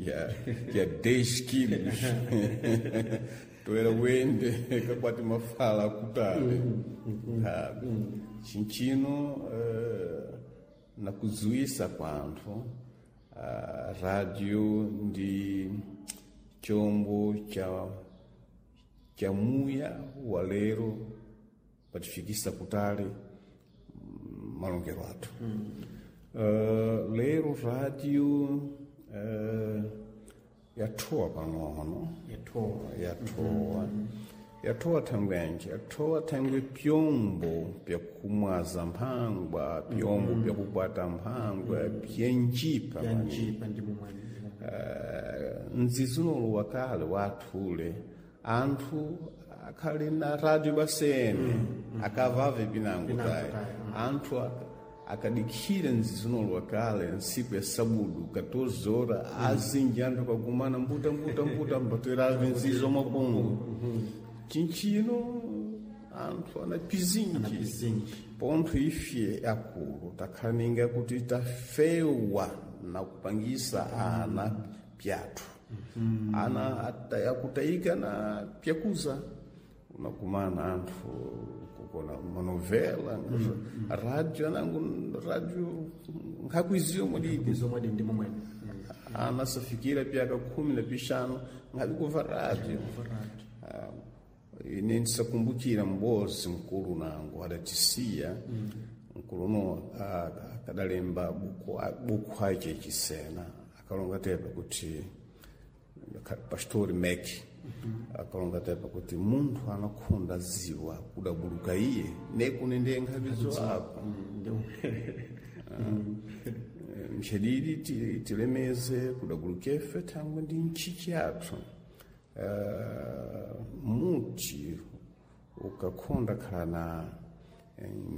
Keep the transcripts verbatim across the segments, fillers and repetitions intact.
Ya, ya dez quilos toera wende kakwati mafala kutale mm. mm. Chinchino uh, nakuzuisa kwa anthu uh, radio ndi chombo cha cha muya wa lero patifikisa kutali malongero athu mm. uh, lero radio uh, yathowa pang'ono yathowa yathowa mm -hmm. yathowa thangwenje yathowa thangwe pyombo pyakumwaza mphangwa pyombo mm -hmm. pyakukwata mphangwa mm -hmm. pyenjipa pyanjipa ndimo mwene uh, mzizinolo wakale wathule anthu akhali na radio basene mm -hmm. akavave pinango tayi anthu akadikhira mzizinolo wakale ntsiku ya sabudu katorze horas mm. azinji anthu akagumana mbuta mbuta mbuta mbaterave nzizo mapungu chinchino anthu ana pizinji pontho ife akulu takhala ninga kuti tafewa na kupangisa ana pyathu mm. ana akutayika na pyakuza unakumana anthu kukona manovela mm. radio anangu radio nkhakuiziyo mwadidi mwadi ndimo mwene ana safikira pyaka khumi na pixanu nkhavi kuva radio uh, ine ndisakumbukira mbozi mkulu nangu adatisiya mm. mkulu uno akadalemba buku, buku ace chisena akalonga tepa kuti pastori Mac mm -hmm. akalonga tepa kuti munthu anakhonda ziwa kudabuluka iye nekune ndiye nkhavizo apo mchedidi tilemeze kudabuluka ife thangwe ndi ntchichi yathu uh, muti ukakhonda khala na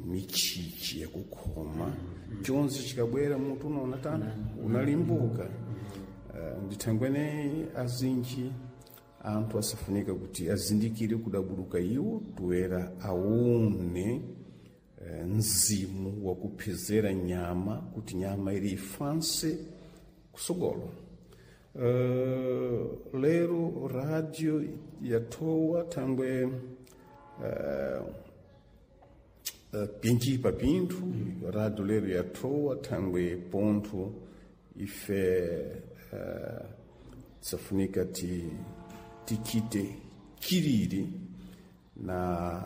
michichi yakukhoma mm -hmm. chonse chikabwera mutu unaona tani unalimbuka uh, ndithangwene azinji anthu asafunika kuti azindikire kudabuluka iwo toera aone uh, mzimu wakuphezera nyama kuti nyama ili ifanse kusogolo uh, lero radio yathowa thangwe uh, uh, pinjipa pinthu mm. radio lero yathowa thangwe pontho ife uh, tisafunika ti tichite chilili na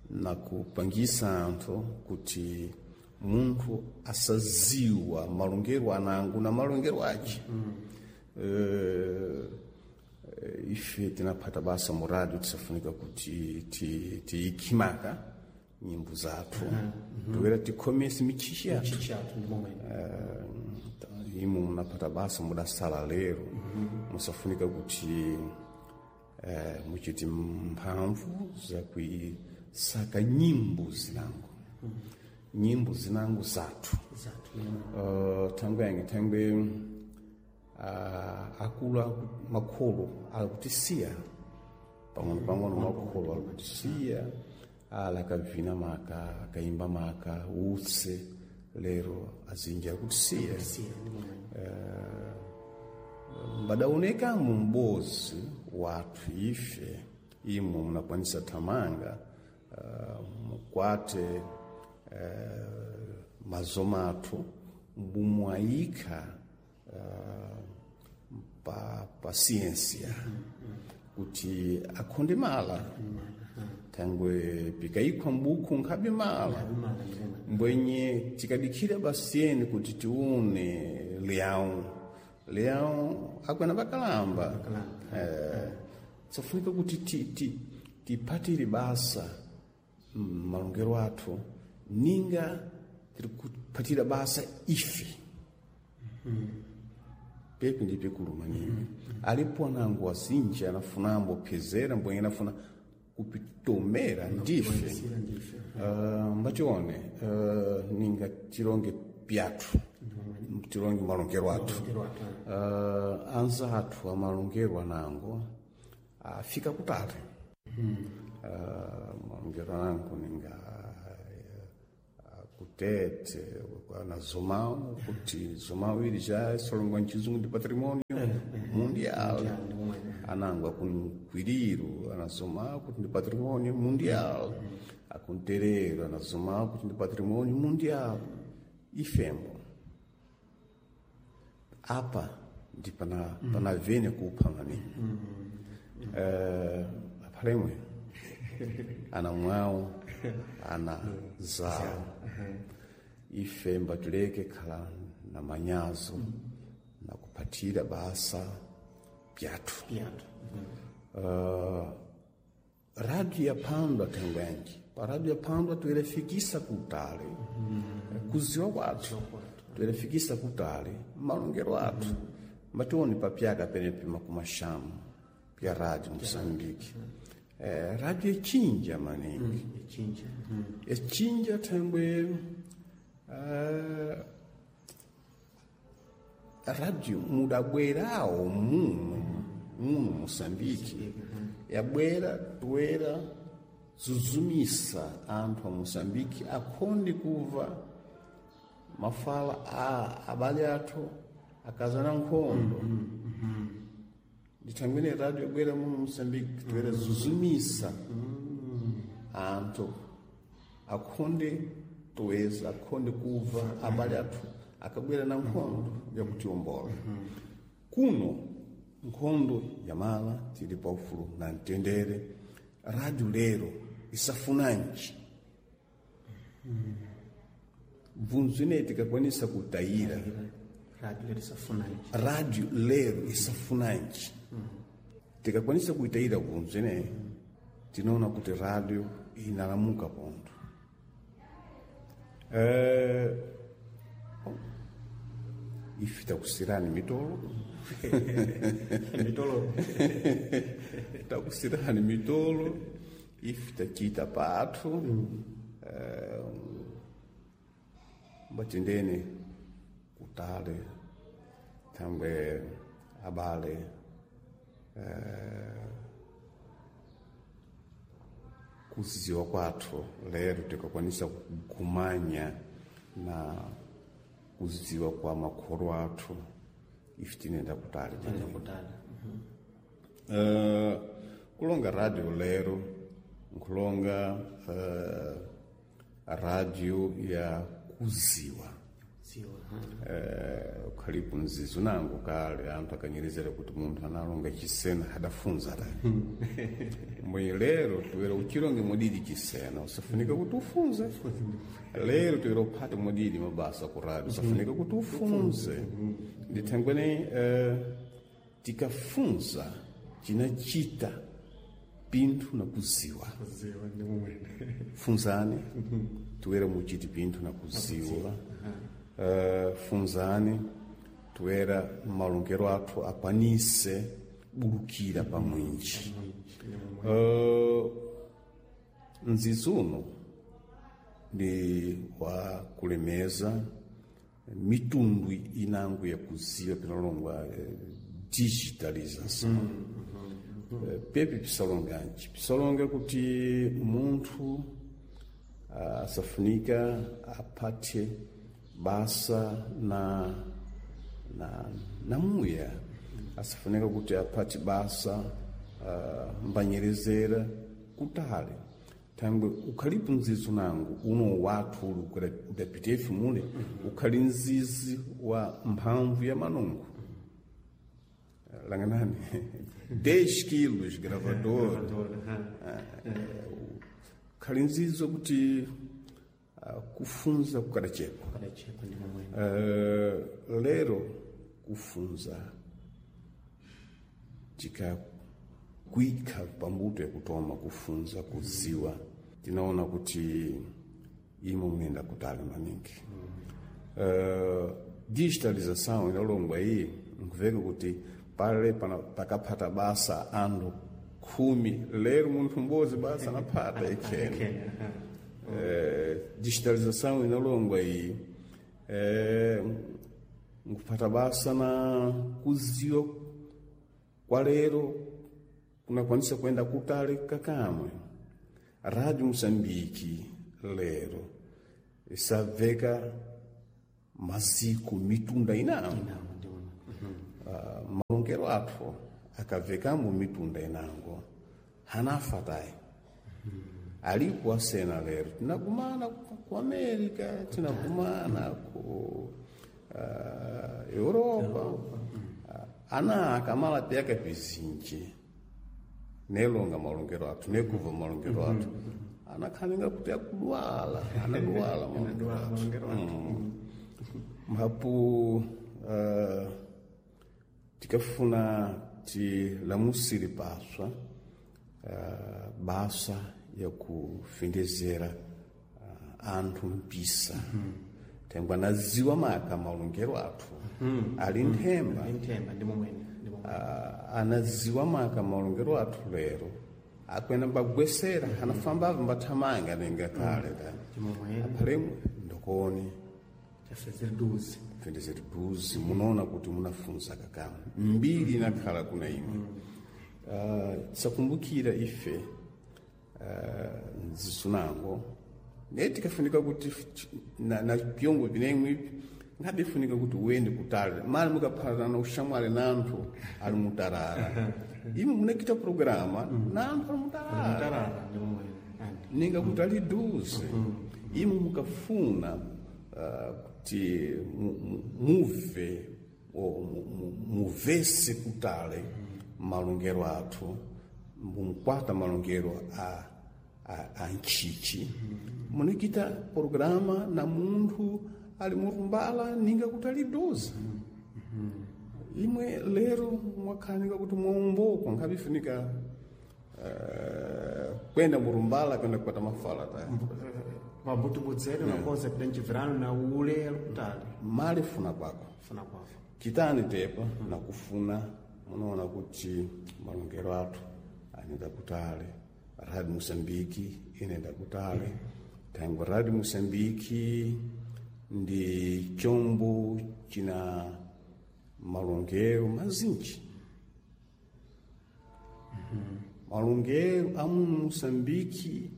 na kupangisa anthu kuti munthu asaziwa malongero anangu na malongero ace mm. uh, ife tinaphata basa mu radio tisafunika kuti tiyikhimaka nyimbo zathu mm -hmm. toera tikhomese michichi yathu uh, imo munaphata basa mudasala lero mm -hmm. musafunika kuti uh, muchite mphamvu zakuisaka nyimbo zinango mm -hmm. nyimbo zinango zathu zathu uh, thangwe yange thangwe uh, akulu makholo akutisiya pang'ono pang'ono makholo akutisiya ala akavina maka akaimba maka utse lero azinji akutisiya uh, mbadaoneka mumbozi wathu ife imwe munakwanisa thamanga uh, mukwate uh, mazoma athu mbumwayikha uh, pa, pa ciência mm -hmm. kuti akhonde mala thangwe pikayikhwa mbuku nkhabe mala mbwenye tikadikhira basiyeni kuti tiune leão leão akwena bakalamba eh, tsofunika kuti tipatire basa malongero athu ninga tiri kupatira basa ife mm. pepi ndi pikulu maningi mm -hmm. alipo anango azinji anafunambo phezera mbwenye anafuna kupitomera ndife uh, mbachione uh, ninga tilonge pyathu tilonge malongero athu uh, anza athu amalongero anango afika kutali mm. uh, malongero anango ninga uh, Kutete na Zomão, kuti Zomão ili já solongwa nchizungu ndi patrimônio mundial. Anango akunkwiriru anazomao kuti ndi patrimônio mundial. Akunterero anazomao kuti ndi patrimônio mundial. Ifembo apa ndi pana pana vene kupha maningi. Eh, aphalemwe ana mwawo ana zawo, ife mbatuleke khala na manyazo na kuphatira basa pyathu. Pyathu. Uh, rádio yaphandwa thangwenji pa rádio yaphandwa tuilefikisa kutali kuziwa kwathu, tuilefikisa kutali malongero athu. Mationi papyaka penepi makumaxamu pya rádio Moçambique. Eh, rádio echinja maningi. Echinja. Echinja thangwe uh, rádio mudabwerawo muno muno Moçambique, yabwera toera zuzumisa anthu a Moçambique akhonde kuva mafala a abale athu akazana nkhondo. Ndithangwene rádio yabwera muno Moçambique toera zuzumisa anthu akhonde toeza akhonde kuva abale athu akabwera na nkhondo yakutiombola kuno. Nkhondo yamala, tili paufulu na mtendere. Rádio lero isafunanji bvunzo ineyi tikakwanisa kutayira. Rádio lero isafunanji. Rádio lero isafunanji, tikakwanisa kuitayira bvunzo ineyi, tinaona kuti rádio inalamuka ponto. Eh, ife takusirani mitolo. Mitolo. Takusirani mitolo, ife tachita pathu. Eh, mbatendene kutale thangwe abale eh, kuziziwa kwathu lero tikakwanisa kugumanya na kuziziwa kwa makholo athu, ife tinenda kutali. Tinenda kutali. Uh, kulonga rádio lero nkulonga uh, rádio ya kuziwa. Ziwa. Eh, ukhalipo mzizu nango kale anthu akanyerezera kuti munthu analonga chisena adafunza ta mbwe. Lero tuwera uchilonge mudidi chisena, usafunika kuti ufunze. Lero tuwera uphate mudidi mabasa ku rádio, usafunika kuti ufunze. Ndithangwene eh, tikafunza chinachita pinthu na kuziwa. Ziwa ndi mumwene. Funzani tuwera muchiti pinthu na kuziwa. Uh, funzani tuwera malongero athu akwanise bulukira pamwinji. uh, mzizi uno ndi wa kulemeza mitundu inango ya kuziwa pinalongwa eh, digitalização. Eh, pepe pisalonganji pisalonga kuti munthu ah, asafunika apate basa na na na muya, asafunika kuti apate basa uh, mbanyerezera kutale thangwe ukhalipo mzizi nangu uno wathu uli udapitefe mule ukhali mzizi wa mphamvu ya manungo langanani dez quilos gravador, ukhali mzizi kuti ah, kufunza kukadachepa. Kadachepa ndi mumwene. Uh, lero kufunza tikakwika pambuto yakutoma kufunza kuziwa, tinaona kuti imo mnenda kutali maningi. Uh, digitalização inalongwa iyi nkuveka kuti pale pana- pakaphata basa anthu khumi, lero munthu m'bodzi basa anaphata ikhene. Eh, digitalização inalongwa iyi eh, nkuphata basa na kuziwa kwa lero kunakwanisa kuenda kutali kakamwe. Rádio Moçambique lero Isabveka maziko mitunda inango. Inango ndi momwene. Uh, malongero athu akabvekamo mitunda inango hanafa tayi. Alipo asena lero tinagumana ku ku America, tinagumana ku uh, Europa. Uh, ana akamala pyaka pizinji nelonga malongero athu, nekuva malongero athu, anakhaninga kuti akudwala, anadwala malongero athu. Malongero athu. Mhapu uh, tikafuna tilamusire paswa uh, basa ya kufendezera uh, anthu mpisa, thengwa naziwa maka malongero athu ali nthemba. Ali nthemba, ndi momwene, ndi momwene. uh, anaziwa maka malongero athu lero akwena mbagwesera, anafamba avo mbathamanga nenga kale ta. Ndi momwene. Aphalemwe ndokoni Tafezere duzi. Fendezeri duzi, munaona kuti munafunza kakamu mbiri inakhala kuna imwe. uh, tisakumbukira ife uh, nzisunango ne tikafunika kuti f- na, na pyongo pinemwe ipi ngabe ifunika kuti uende kutali mali mukaphatana ushamwali na anthu ali mutarara, imwe munakita programa na anthu ali mutarara. Mutarara, ndi momwene. Andi. Ninga kuti ali duze, imwe mukafuna uh, kuti mu- mu- muve o mu- mu- muvese kutale malongero athu, mumukwata malongero a, a, a ntchichi, munikita programa na munthu ali murumbala ninga kuti ali duze. Imwe lero mwakhanika kuti mwaumboko nkhabifunika uh, kwenda murumbala kwenda kupata mafala ta. Pambuti budzere unakoza pita mchibvirano na ule ali kutali. Mali funa kwako. Funa kwavo. Chitani tepa nakufuna munaona kuti malongero athu anenda kutale, Radio Moçambique inenda kutale, thangwe Radio Moçambique ndi chombo china malongero mazinji, malongero a muno Moçambique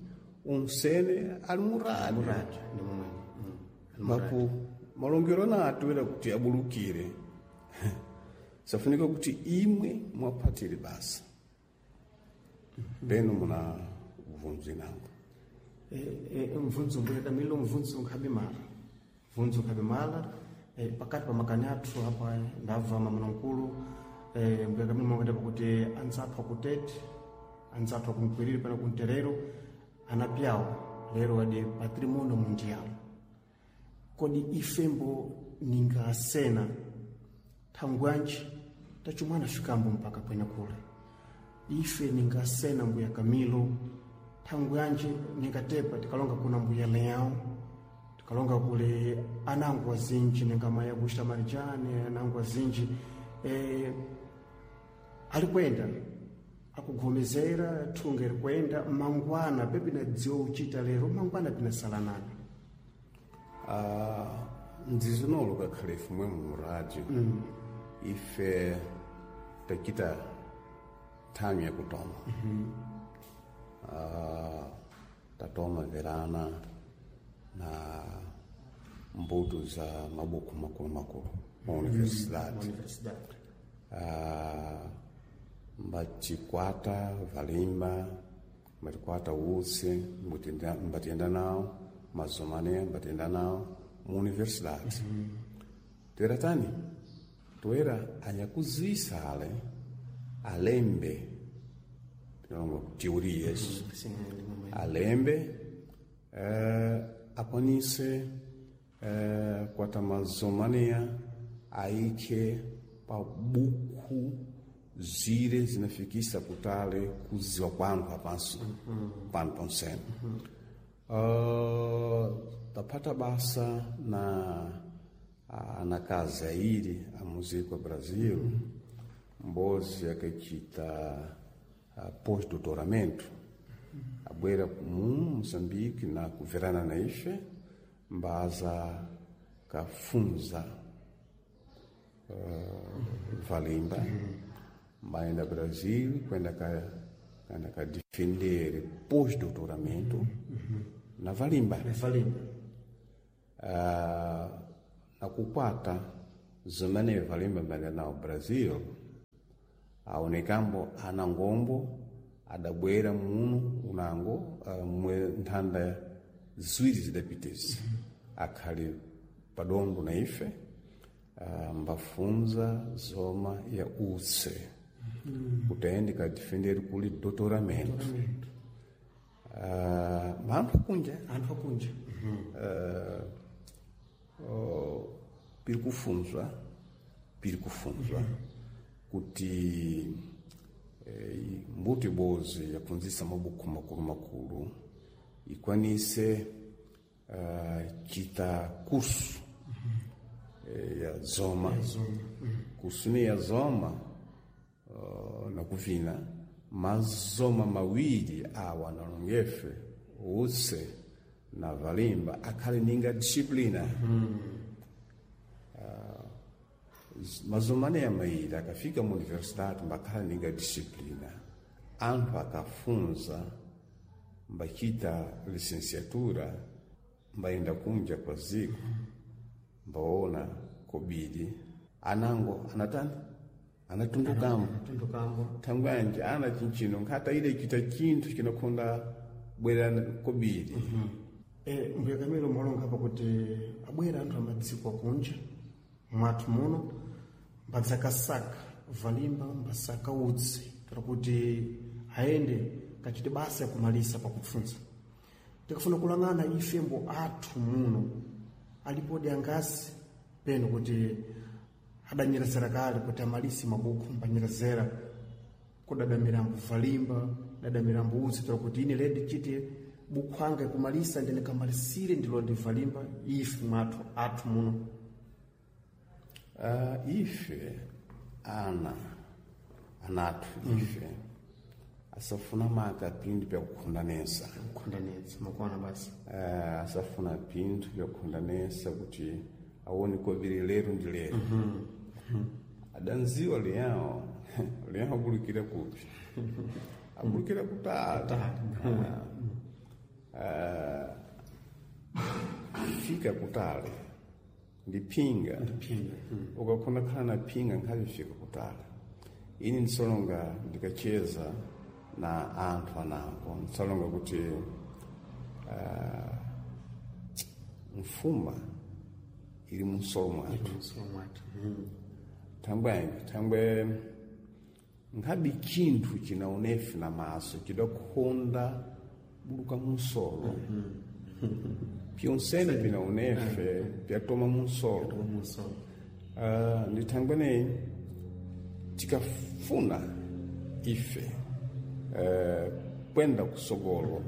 onsene ali mu rádio. Muradio, ndi momwene. Mm. Mapo malongero ana atuwera kuti abulukire, safunika kuti imwe mwaphatire basa peno muna ubvunzo inango. Eh, eh, mvunzo mbuya Camilo, mvunzo nkhabe mala, mvunzo nkhabe mala. eh, pakati pa makani athu apa ndabva mamuna mkulu, eh, mbuya Camilo mwakati pakuti anzathu akutete, anzathu akunkwiriri pana kunterero anapyawo lero adi patrimonio mundial. Kodi ifembo ningasena thangwanji tachumwana fikambo mpaka kwene kule? Ife ningasena mbuya Camilo thangwanji ningatepa tikalonga kuna mbuya Leão, tikalonga kule anangu azinji ninga maya Augusta Marijane, anangu azinji eh, alikwenda akugomezera thunga iri kwenda mangwana pepi nadziwa uchita lero mangwana pinasalanana. Ah, ndzizinolo kakhale ife mwe mu rádio ife tachita thamu yakutoma. Ah, tatoma verana na mbuto za mabuku makulu makulu ma universidade. Universidade. Ah, mbatikwata valimba, mbatikwata utsi, mbutenda- mbatiyenda nawo mazomane, mbatiyenda nawo mu universidade. Toera tani toera anyakuzisa ale alembe tinalonga teorias. Sim, ndi momwene. Alembe eh, akwanise eh, kwata mazomania aike pa buku zire zinafikisa kutale kuziwa kwanthu apanso pano ponsene. Uh, tapata basa na anakazi airi a música Brasil, mbozi akachita uh, pós-doutoramento, abwera mu Moçambique na kuverana na ife mbaza kafunza uh, valimba, mbaenda Brasil kwenda ka kwenda ka defender pós-doutoramento na valimba. Valimba. Uh, nakukwata zimene valimba mbali nawo Brazil aonekambo ana ngombo adabwera muno unango uh, mwe nthanda ziwiri zidapitezi mm -hmm. Akhali padondo na ife uh, mbafunza zoma ya utse mm -hmm. Kutende kadifenderi kuli doutoramento uh, anthu akunja anthu akunja mm -hmm. uh, oh, piri kufunzwa piri kufunzwa mm -hmm. Kuti eh, mbuto ibozi yapunzisa mabuku makulu makulu ikwanise uh, chita kursu mm -hmm. eh, ya zoma, ya zoma. Mm -hmm. Kursu ni ya zoma uh, nakuvina mazoma mawiri awa nalongefe utse na valimba akhale ninga disciplina mm -hmm. Uh, mazomane ya mairi akafika mu universidade mbakhala ninga disciplina anthu akafunza mbachita licenciatura mbayenda kunja kwa ziko mbaona kobiri anango anatani anatundukambo thangwanje ana chinchino nkhata ile chita chinthu chinakhonda bwera kobiri mm -hmm. E, mbuya Camilo mwalonga apa kuti abwera anthu amadziko akunja mwathu muno mbadzakasaka valimba mbasaka utsi tera kuti aende kachite basa yakumalisa pakufunza tikafuna kulang'ana ifembo athu muno alipodi angasi peno kuti adanyerezera kale kuti amalisi mabuku mbanyerezera kudadamirambo valimba dadamirambo utsi tera kuti ine ledi chite buku anga kumalisa ndine kamalisire ndilo ndivalimba ife mwathu athu muno uh, ife ana anathu mm. Ife asafuna maka pinthu pyakukhondanesa kukhondanetsa makuona basi uh, asafuna pinthu pyakukhondanesa kuti aone kobiri lero ndi lero mm -hmm. Adanziwa liyawo liyawo abulukira kupi abulukira kutali Uh, fika kutali ndi phinga mm. Ukakhona khala na phinga nkhavi fika kutali ini ndisolonga ndikacheza na anthu anango ndisolonga kuti uh, mfuma ili munsolo mwathu mm. Thangwe thangwe nkhabi chinthu chinaonefe na maso chidakhonda buluka munsolo mm -hmm. Pyonsene pinaonefe pyatoma munsolo uh, ndithangweneyi tikafuna ife uh, kwenda kusogolo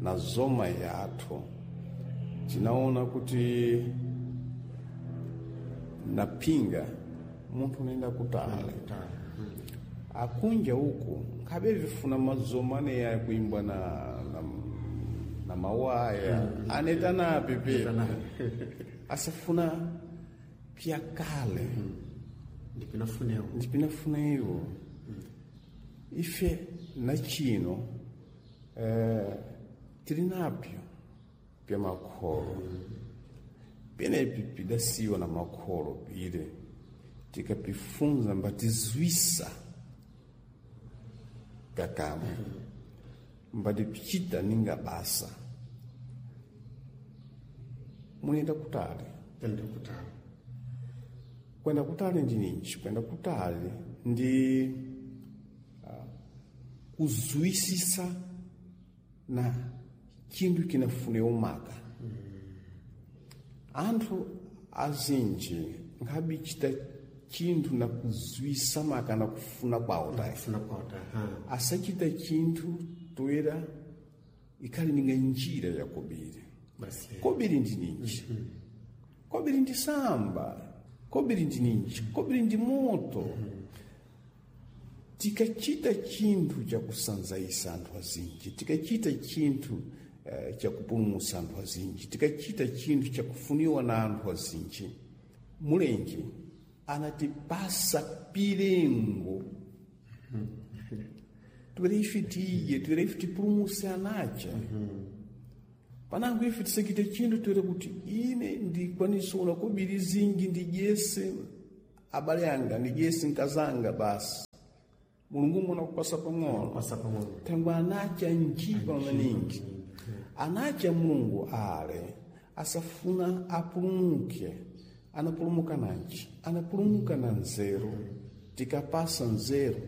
na zoma yathu tinaona kuti napinga munthu unaenda kutali akunja uku nkhabe vifuna mazoma aneya kuimbwa na, na, na mawaya mm -hmm. Anetanapi pepe asafuna pyakale mm -hmm. Ndipinafunewo ndipinafunewo mm -hmm. Ife na chino eh, tili napyo pya makholo mm -hmm. Penepi pidasiwa na makholo pile tikapifunza mbatizwisa kakamwe mbati pichita ninga basa munenda kutali kwenda kutali kwenda kutali ndi ninji kwenda kutali ndi uh, kuzwisisa na chinthu chinafune umaka mm. Anthu azinji nkhabi chita chinthu na kuzwisa maka na kufuna kwawo tayi asachita chinthu toera ikhali ninga njira ya kobiri kobiri ndi ninji mm -hmm. Kobiri ndi samba kobiri ndi ninji kobiri ndi moto mm -hmm. Tikachita chinthu chakusanzaisa anthu azinji tikachita chinthu uh, chakupulumutsa anthu azinji tikachita chinthu chakufuniwa na anthu azinji mulenje anatipasa pilengo Twere ife tiye, twere ife tipulumuse anacha. Mm -hmm. Panango ife tisakite chinthu toera kuti ine ndikwanisa una kobiri zinji ndidyese abale anga, ndidyese nkazanga basi. Mulungu mwana kupasa pang'ono. Pasa pang'ono. Thangwe anacha njipa maningi. Anacha Mulungu ale asafuna apulumuke. Anapulumuka nanji? Anapulumuka na nzeru. Tikapasa nzeru.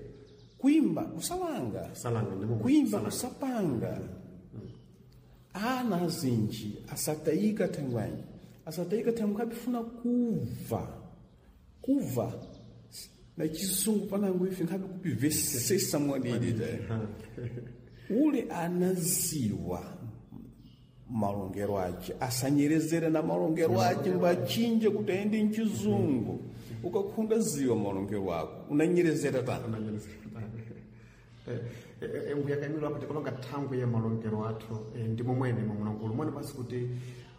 Kuimba kusalanga. Kusalanga, ndimo Kuimba kusapanga. Ana azinji asatayika thangwanyi. Asatayika thangwe nkhabifuna kuva. Kuva. Na chisungu panango ife nkhabe kupivesesa mwadidi te. Ule anaziwa malongero ache asanyerezere na malongero ache mbachinje kuti aende mchizungu. Ukakhunda ziwa malongero ako unanyerezera tani. Mbuya Camilo apo tikalonga thangwe ya malongero athu eh, ndimo mwene mwamunankulu mwene basi kuti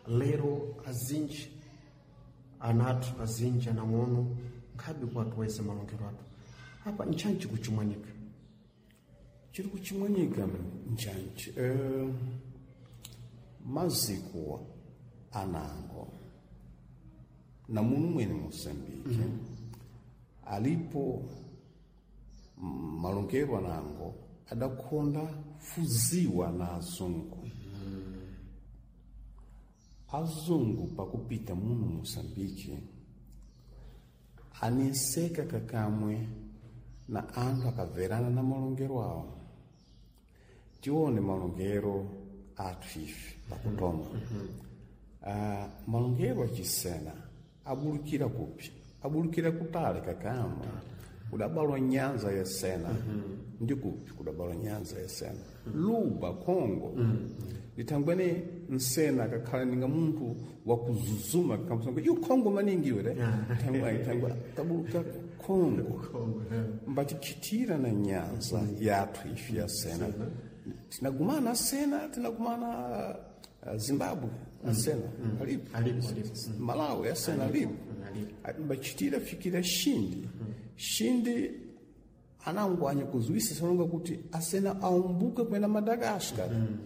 lero azinji anathu azinji anang'ono nkhabe kuwatuweza malongero athu apa nchanji kuchimwanika. Chiri kuchimwanika nchanji eh, maziko anango na munu mwene Mosambike mm -hmm. alipo malongero anango adakhonda fuziwa na azungu. Mm. Azungu pakupita muno Mosambike aneseka kakamwe na anthu akaverana na malongero awo. Tione malongero athu ife pakutoma. Mm -hmm. Uh, malongero achisena abulukira kupi? Abulukira kutale kakamwe. Kudabalwa nyanza ya Sena. Mm -hmm. Ndi kupi kudabalwa nyanza ya Sena? Mm -hmm. Luba, Kongo. Mm -hmm. Litangwene nsena akakhala ninga munthu wakuzuzuma kamusanga iyo Kongo maningi iwe thangwa thangwa tabuluka Kongo. Mbatichitira na nyanza yathu ife ya Sena. Tinagumana Sena, tinagumana uh, Zimbabwe asena alipo. Alipo, alipo. Malawi asena alipo. Mbachitira fikira Shindi. Shindi anangwanya kuzuisa sanonga kuti asena aumbuka kwenda Madagascar. Mm.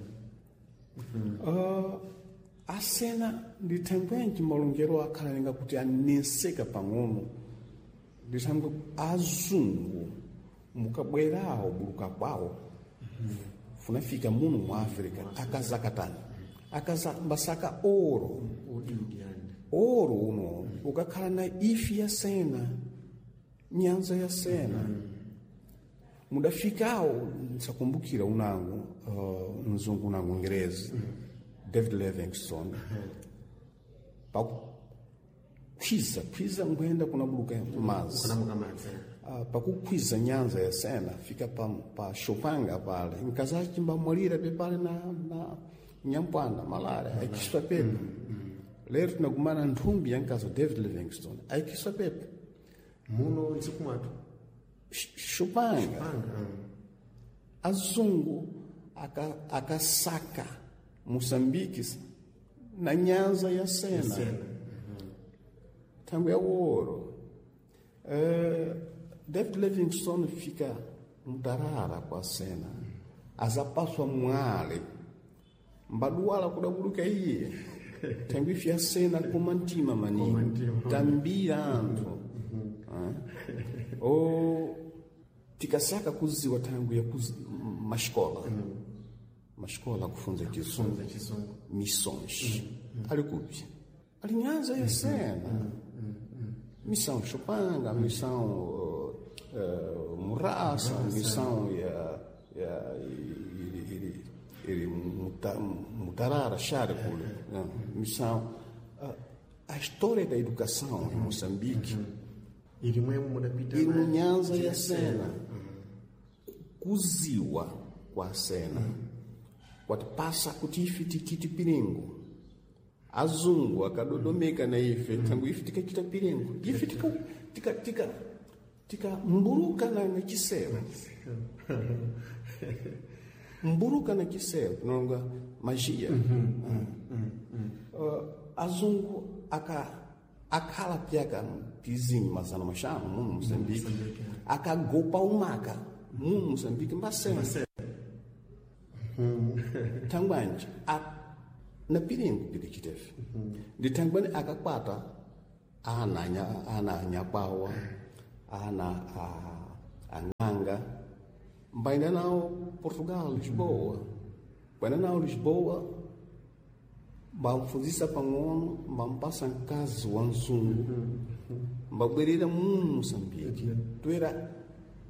Uh, asena ndithangwenji malongero akhala ninga kuti aneseka pang'ono. Ndithangwe azungu mukabwerawo buluka kwawo. Mm. Funafika muno mu Africa akazakatani. Akaza mbasaka oro. Oro uno ukakhala na ifi ya Sena, nyanza ya Sena. Mm. Mudafikawo nsakumbukira unangu uh, mzungu unangu Ngerezi mm. David Livingstone. Mm. Pakukwiza kwiza ngwenda kunabuluka mazi. Uh, pakukwiza nyanza ya Sena fika pa, pa Shopanga pale nkazachi mbamwalira pepale na, na nyampwana malale aikiswa pepe. Mm. Mm. Lero tinagumana nthumbi ya nkazo David Livingstone aikiswa pepe muno ntsiku mwathu Shopanga. Azungu akasaka aka Moçambique na nyanza ya Sena. Mm -hmm. Tangu ya ouro. Uh, David Livingstone fica mutarara kwa Sena. Azapaswa mwale. Mbaduwala kudabuluka iye. Tangu ifi ya Sena kumantima maningi. Tambira anthu. Uh, o tikasaka kuziwa tangu ya kuzi, mascola. Mm. Mascola kufunza chizungu. Missões. Mm. Ali kupi? Ali nyanza ya Sena. Mm. Mm. Missão Chopanga, missão uh, uh, Murassa, missão ya ya iri iri muta, Mutarara, Xara kule. Missão uh, a história da educação em Moçambique. Ili mwemu mudapita ili munyanza ya Sena. Kuziwa kwa Sena. Kwatipasa kuti ife tikiti piringo. Azungu akadodomeka na ife tangu ife tikachita piringo. Ife tika tika tika tika mburuka na na chisero. Mburuka na chisero nonga magia. Uh, azungu aka akhala pyaka pizinho mazana mashanu muno Moçambique. Akagopa umaka muno Moçambique mbasena. Tangwanje a Na piringu pili chitefe. Ndithangwene akakwata ana anya ana anyakwawa ana a ang'anga mbaenda nawo Portugal Lisboa mbaenda nawo Lisboa mbamfunzisa pang'ono mbampasa mkazi wa mzungu mbabwerera mu Moçambique toera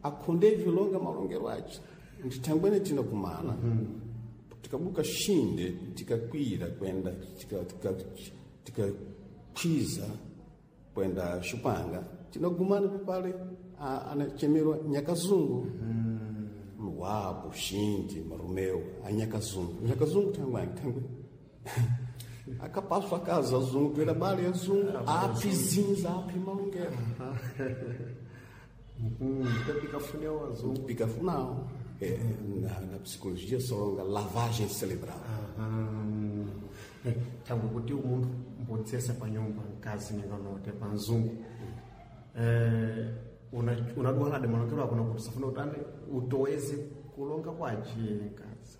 akhonde vilonga malongero ace ndithangwene tina kumana tikabuka shinde tikakwira kwenda tikakwiza kwenda Xupanga tinagumana pale anachemerwa Nyakazungu Luabo Xinde Marumeu a Nyakazungu Nyakazungu thangwani thangwe akapaswa casa zungu toera bale ya zungu api zinza api malongero Pikafunao azungu pikafunao é, na, na psicologia solonga lavagem cerebral. Thangwe kuti umunthu mbodzesa pa nyumba mkazi ninganote pa mzungu eh, unadwalade malongero ako nakuti safuna utani utoweze kulonga kwace mkazi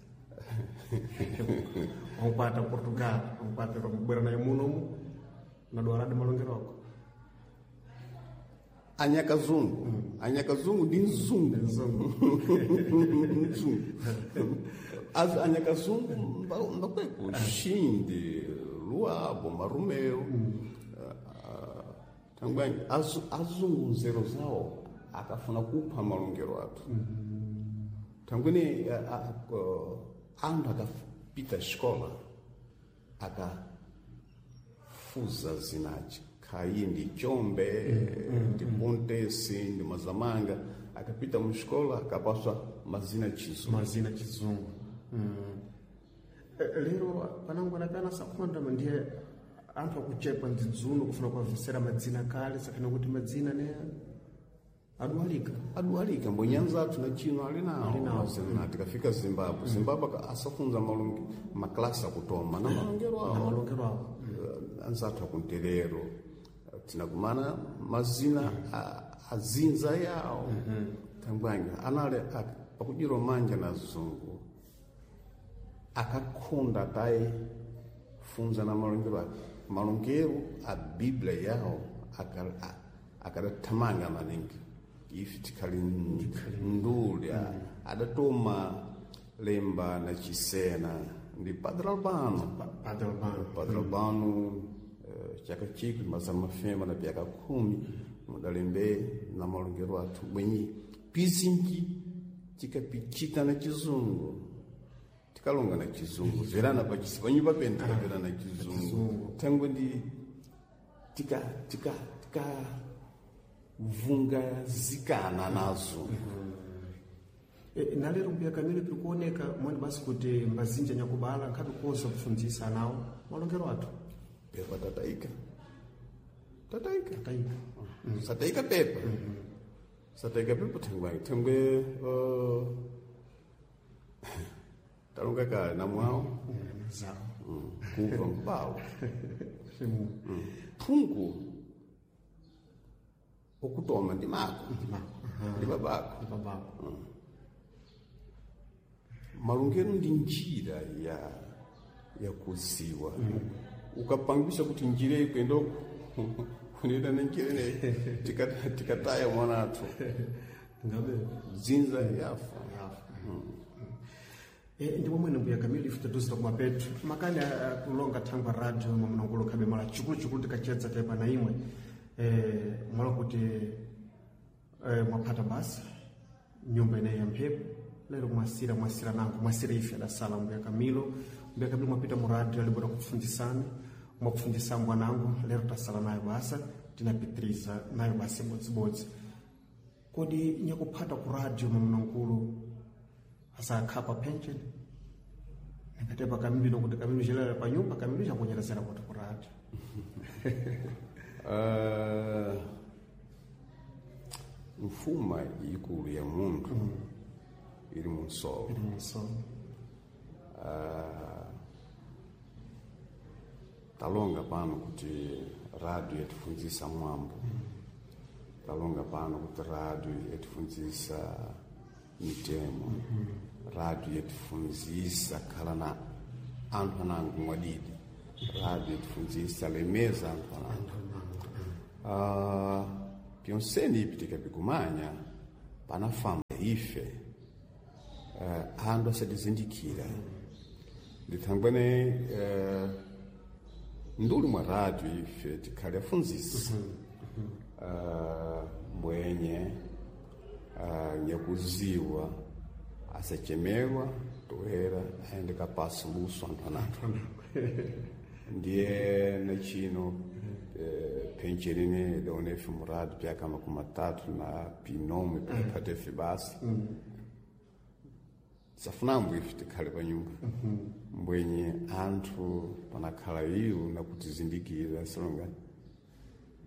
wankwata Portugal wankwata kubwera naye munomu unadwalade malongero ako Anyakazungu mm. Anyakazungu ndi mzungu mzungu As anyakazungu mbakweko Xinde Luabo Marumeu mm. uh, tangwani azungu nzero zawo akafuna kupha malongero athu mm. Tangwene uh, anthu akapita escola akafuza zinaci kai ndi chombe mm, ndi pontesi ndi mazamanga akapita muxikola akapaswa mazina chizungu mazina chizungu mm. Lero panangu anapena sakhonda ndiye anthu akuchepa ndidzuno kufuna kuwavesera madzina kale sakhana kuti madzina ne adwalika adwalika mbonyanza athu na chino ali nawo mm. Tikafika Zimbabwe Zimbabwe asafunza malonge maklasi akutoma na malongero awo na malongero awo anzathu akunterero tinakumana mazina azinza yawo thangwanyi anali pakudiro manja na zungu akakhonda taye funza na malongero ake malongero a bíblia yawo akadathamanga maningi ife tikhali nduli adatoma lemba na chisena ndi Padre Albano Padre Albano Padre Albano chaka chikwi mazana mafemba na pyaka khumi mudalembe na malongero athu bwenyi pizinji tikapichita na chizungu tikalonga na chizungu verana pachisi panyumba pene tikapera na chizungu thangwe ndi tika tika tika vungazikana nazo E, nalero mbuya kamene piri kuoneka mwani basi kuti mbazinja nyakubala nkhabe koza kufunzisa nawo malongero athu pepa tataika tataika tataika mm. Sataika pepa mm -hmm. Sataika pepa thangwe thangwe uh, talonga kale namwawo mm, zawo mm. kuva mbawo mm. Phungu okutoma ndi mako ndi babako ndi babako mm. Malongero ndi njira ya ya kuziwa mm. Ukapangisa kuti njira ikwenda kunena na njira ineyi tikataya mwana athu ngabe dzinza yafa mm. E, ndi momwene mbuya Kamilo ife taduzira kumapetu makani kulonga thangwa radio mamunangulu khabe mala chikuluchikulu tikachedza tepa na imwe e, mwala kuti e, mwaphata basa nyumba ineyi ya mphepo lero mwasira mwasira nango mwasira ife adasala mbuya Kamilo mbuya Kamilo mwapita mu radio alibora kufunzisana mwakufundisa mbwanangu lero tasala nayo basa tinapitiriza nayo basa ibodzibodzi kodi nyakuphata ku radio mamunangulu asakhapa pension nikatepa kamilo nokuti kamilo xelera pa nyumba kamilo xakunyerezera kuti ku radio uh, mfuma ikulu ya munthu mm. Ili munsolo ili munsolo uh, talonga pano kuti radio yatifunzisa mwambo mm. Talonga pano kuti radio yatifunzisa mitemo mm -hmm. Radio yatifunzisa khala na anthu anango mwadidi Rádio tifunzisa lemeza anthu anango. Uh, pyonseni ipi tikapikumanya panafamba ife uh, anthu asatizindikira ndithangwene uh, nduli mwa rádio ife tikhale afunzisi uh, mbwenye uh, nyakuziwa asachemerwa toera aende kapasa luso anthu anathu ndiye nachino eh, pencherine daonefe murado pyaka makumi matatu na pinome phatefe basa safunambo ife tikhale pa nyumba mbwenye anthu panakhala iwo nakutizindikira salonga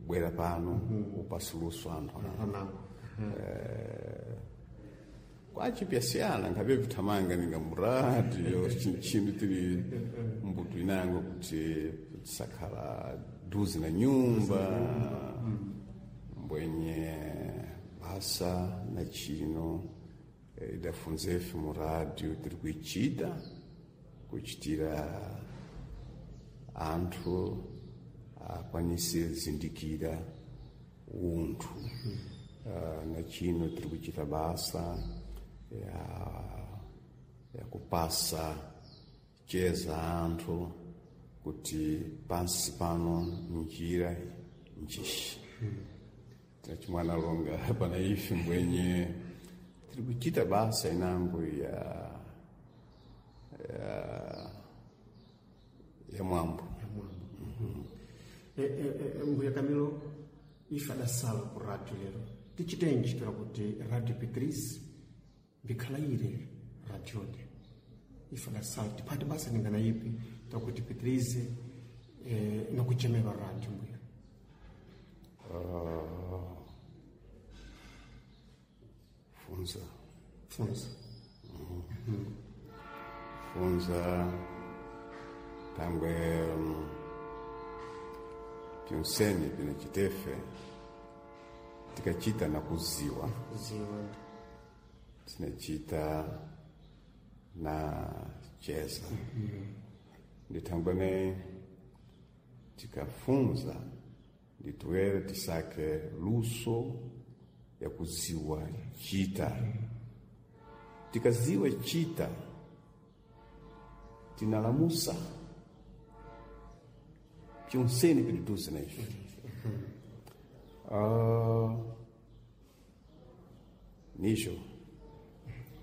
bwera pano upasuluso anthu anathu Anango. kwachipyasiyana nkhabe vithamanga ninga muradio chinchinu tili mbuto inango kuti tisakhala duzi na nyumba mbwenye basa na chino eh, idafunzefe mu radio tiri kuichita kuchitira anthu akwanise zindikira unthu uh, na chino tiri kuchita basa ya, ya kupasa cheza anthu kuti pansi pano njira njishi tinachimwana longa pana ife mbwenye tiri kuchita basa inango ya ya, ya mwambo Eh, eh, eh, mbuya Camilo ife adasala ku radio lero tichitenji toera kuti radio Petrice mbikhala ire radione ife adasala tiphate basa ningana ipi toera kuti Petrice eh, nakuchemerwa radio mbuya uh, funza funza funza tangwe mm, pyonseni pinachitefe tikachita na kuziwa kuziwa tinachita na cheza ndithangwene tikafunza ndituwere tisake luso ya kuziwa chita tikaziwa chita tinalamusa pyonseni piliduze na ife uh, nijo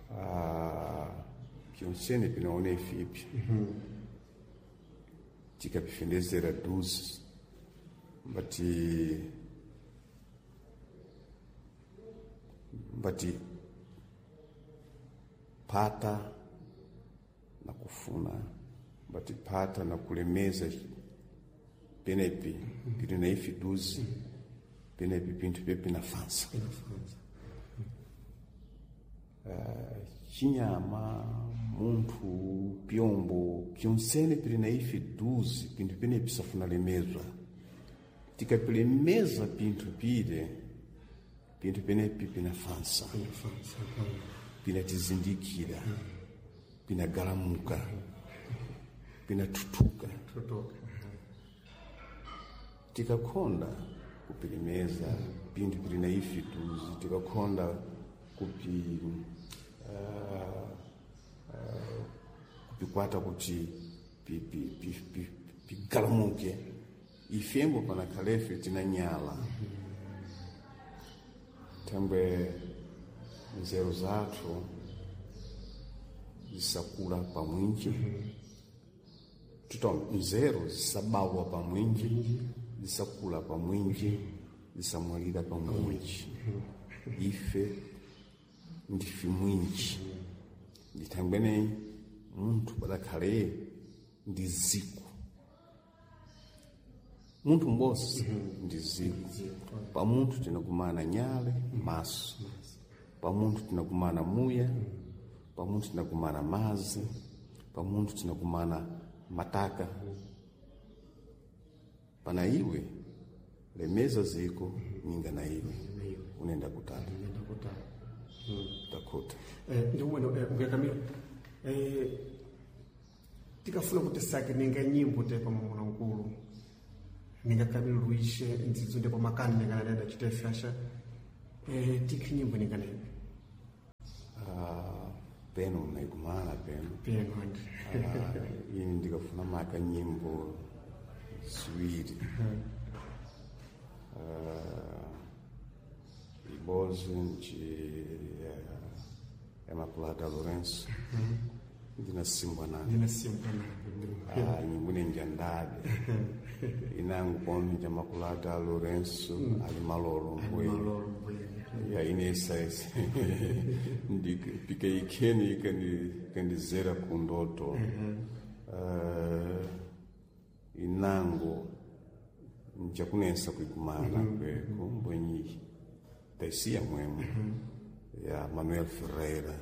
uh, pyonseni pinaona ife ipi tikapifendezera duzi mbati mbati pata na kufuna mbati pata na kulemeza penepi pili na ife duzi penepi pinthu pepi nafansa inafunza chinyama munthu pyombo pyonsene pili na ife duzi pinthu penepi safuna lemezwa tikapilemeza pinthu pile pinthu penepi pinafansa inafunza pinatizindikira pinagalamuka pinathutuka tutoka tikakhonda kupilemeza pinthu pili na ife duzi tikakhonda kupi uh, uh, kupikwata kuti pigalamuke pi, pi, pi, ifembo panakhalefe tinanyala thangwe nzeru zathu zisakula pamwinji tuto nzeru zisabawa pamwinji zisakula pamwinji zisamwalira pamwinji ife ndife mwinji ndithangwene munthu padakhale ndi ziko munthu m'bosi ndi ziko pamunthu tinakumana nyale maso pamunthu tinakumana muya pamunthu tinakumana mazi pamunthu tinakumana mataka pana iwe lemeza ziko ninga na iwe unenda kutali nenda kutali takhuta Eh, ndi ubwino eh, mbuya Camilo eh, Tikafuna kuti sake ninga nyimbo te pa mamuna nkulu ninga Camilo Luís ndzidzo ndipo makani ninga nadada chitefyasha eh, tikhi nyimbo ninga naipi? Ah, peno naikumala peno. Peno andi. Ah, ini ndikafuna maka nyimbo ziwiri. Ah, ibozi nci ya Maculada Lourenço, ndinasimbwa nani. Ndinasimbwa nani. Ah, nyimbo nenjandabe inangu komi ja Maculada Lourenço ali malolo mbwe. Malolo mbwene. Ya inesa ese pika ikheni ikandizera kundoto. Eh, inango njakunesa kuikumana kweko mbwenyi taisiya mwemwe ya Manuel Ferreira.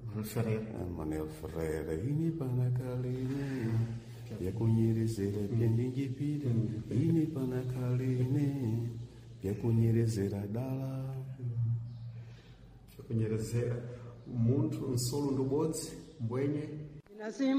Manuel Ferreira. Eh, Manuel Ferreira ini panakalene byakunyerezera byendinjipira ini panakalene byakunyerezera dala. Kunyerezera munthu nsolo ndubodzi mbwenye.